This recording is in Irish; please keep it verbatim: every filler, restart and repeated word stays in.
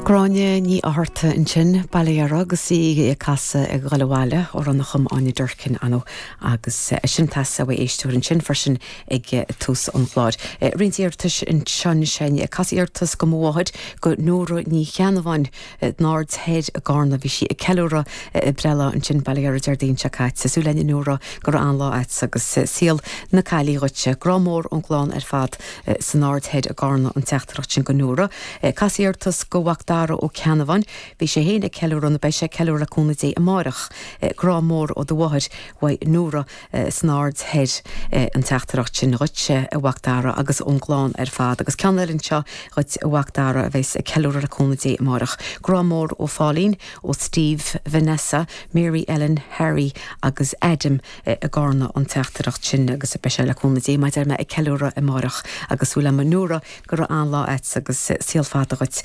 Gráinne Ní Fhátharta ansin Baile Dheara agus í ag casadh Ag Dul Abhaile amhrán a chum Áine Durkin ann agus sin tusa a éisteoir ansin freisin ag tús an chláir. Roinnt iarratais ansin sin casadh iarratas go mháthair go Nóra Ní Cheannabháin san Aird Thoir i gCarna bhí sí ag ceiliúradh a breithlá ansin Baile Dheara Déardaoin seo caite súil againn Nóra go raibh an-lá agat agus saol na caillí dhuitse grá mór ón gclann ar fad san Aird Thoir i gCarna an teachtaireacht sin go Nóra. Casadh iarratas go mhac Dara Ó Ceannabháin, bhí sé féin ag ceiliúradh nó beidh sé ag ceiliúradh le cúnamh Dé amárach grá mór ó do mháthair uaidh Nóra san Aird Thoir an teachtaireacht sin dhuitse a mhac Dara agus ón gclann ar fad agus ceann eile anseo dhuit a mhac Dara a bheas ag ceiliúradh le cúnamh Dé amárach. Grá mór ó Pháilín ó Steve, Vanessa, Mary Ellen, Harry agus Adam i gCarna an teachtaireacht sin agus beidh sé le cúnamh Dé maidir me ag ceiliúradh amárach agus súil agam Nóra go raibh an-lá agat agus saol fada dhuit